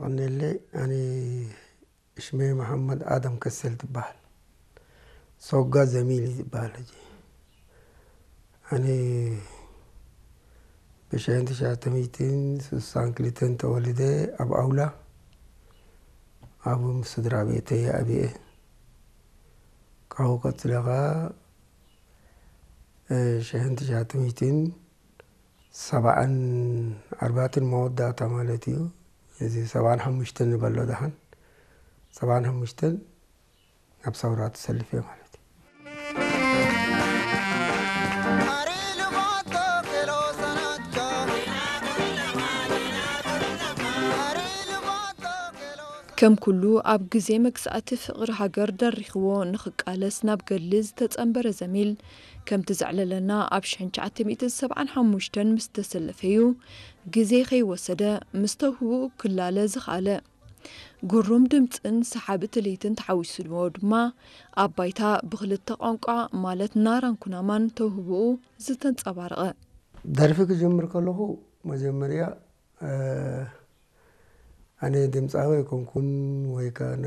ኣነለ ኣነ ሽመይ መሓመድ ኣደም ከሰል ትበሃል። ሶጋ ዘሚል እዩ ዝበሃል ሕጂ። ኣነ ብሽሕን ትሽዓተ ሚእትን ስሳን ክልተን ተወልደ ኣብ ኣውላ ኣብ ስድራ ቤተይ ኣብየ። ካብኡ ቀፅለ ኸዓ ሽሕን ትሽዓተ ሚእትን ሰብዓን ኣርባዕተን መወዳእታ ማለት እዩ። እዚ ሰብዓን ሓሙሽተን ንበሎ ደሓን ሰብዓን ሓሙሽተን ናብ ሰውራ ተሰልፈ ማለት እዩ። ከም ኩሉ ኣብ ግዜ መግዛእቲ ፍቕሪ ሃገር ደሪኽዎ ንኽቃለስ ናብ ገድሊ ዝተጸንበረ ዘሚል፣ ከምቲ ዘዕለለና ኣብ ሽሕን ትሽዓተ ሚእትን ሰብዓን ሓሙሽተን ምስ ተሰለፈ እዩ ግዜ ከይወሰደ ምስ ተውህቦኡ ክላለ ዝኸኣለ። ግሩም ድምጽን ሰሓቢ ትልሂትን ተሓዊስዎ ድማ ኣብ ባይታ ብኽልተ ቋንቋ ማለት ናራን ኩናማን ተውህቦኡ ዝተንጸባረቐ። ደርፊ ክጅምር ከለኹ መጀመርያ ኣነ ድምፃዊ ኣይኮንኩን ወይ ከዓ ናይ